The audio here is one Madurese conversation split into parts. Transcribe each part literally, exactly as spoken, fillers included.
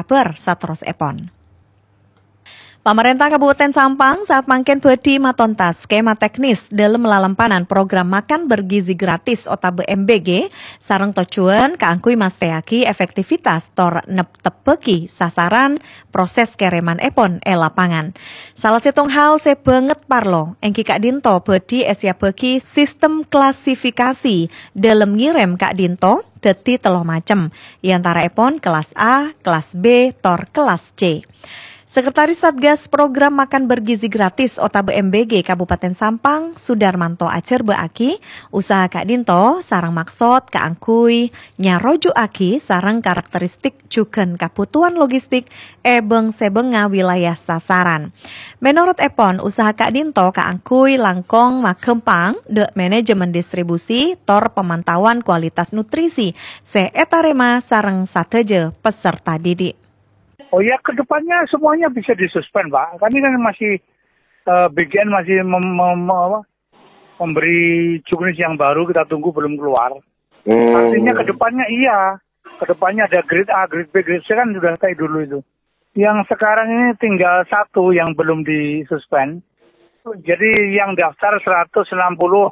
Ber saterrossèpon. Pamarènta Kabupaten Sampang saat mangkèn bhâdhi matontas skema teknis dâlem lalampanan program makan bergizi gratis otabâ M B G sareng tojjhuwân kaangghuy mastèyaghi efektivitas tor neptebbhâghi sasaran proses kèrèmannèpon è lapangan. Sala sèttong hal sè bângèt parlo èngghi ka'dinto bhâdhi èsèyapaghi sistem klasifikasi dâlem ngèrèm ka'dinto dhâddhi tello macem, è antara'èpon kelas A, kelas B, tor kelas C. Sekretaris Satgas Program Makan Bergizi Gratis otabâ M B G Kabupaten Sampang, Sudarmanto ajhârbâ'âghi, usaha ka'dinto sareng maksod kaangghuy nyarojhu'âghi sareng karakteristik jhughân kabhutowan logistik è bâng-sèbângnga wilayah sasaran. Mènorot èpon, usaha ka'dinto kaangghuy langkong maghâmpang dâ' manajemen distribusi tor pamantauan kualitas nutrisi sè ètarèma sareng sadhâjâ peserta didik. Oh ya, ke depannya semuanya bisa disuspend, Pak. Kami kan masih, eh, B G N masih mem-, mem-, apa, memberi juknis yang baru, kita tunggu belum keluar. Artinya ke depannya iya. Ke depannya ada grade A, grade B, grade C kan sudah kayak dulu itu. Yang sekarang ini tinggal satu yang belum disuspend. Jadi yang daftar seratus enam puluh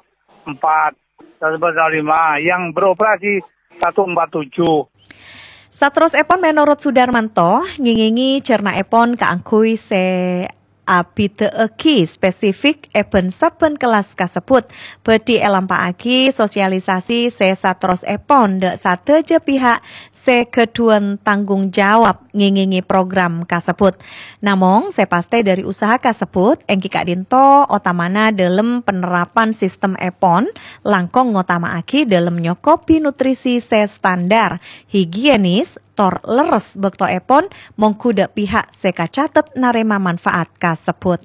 empat, seratus empat puluh lima, yang beroperasi seratus empat puluh tujuh. Saterrossèpon mènorot Sudarmanto, ngèngèngè cerna'èpon kaangghuy sè abhidhâ'âghi spesifik è bân-sabbhân kellas kasebbhut. Bhâdhi èlampa'aghi sosialisasi sè saterrossèpon dâ' sadhâjâ pihak sè ghâdhuwân tanggung jawab ngèngèngè program kasebbhut. Namong, sè pastè dâri usaha kasebbhut èngghi ka'dinto otamana dâlem panerapan sistemèpon langkong ngotama'aghi dâlem nyokobhi nutrisi sè standar, higienis, tor lerres bâktoèpon mongghu dâ' pihak sè kacatet narèma manfaat kasebbhut.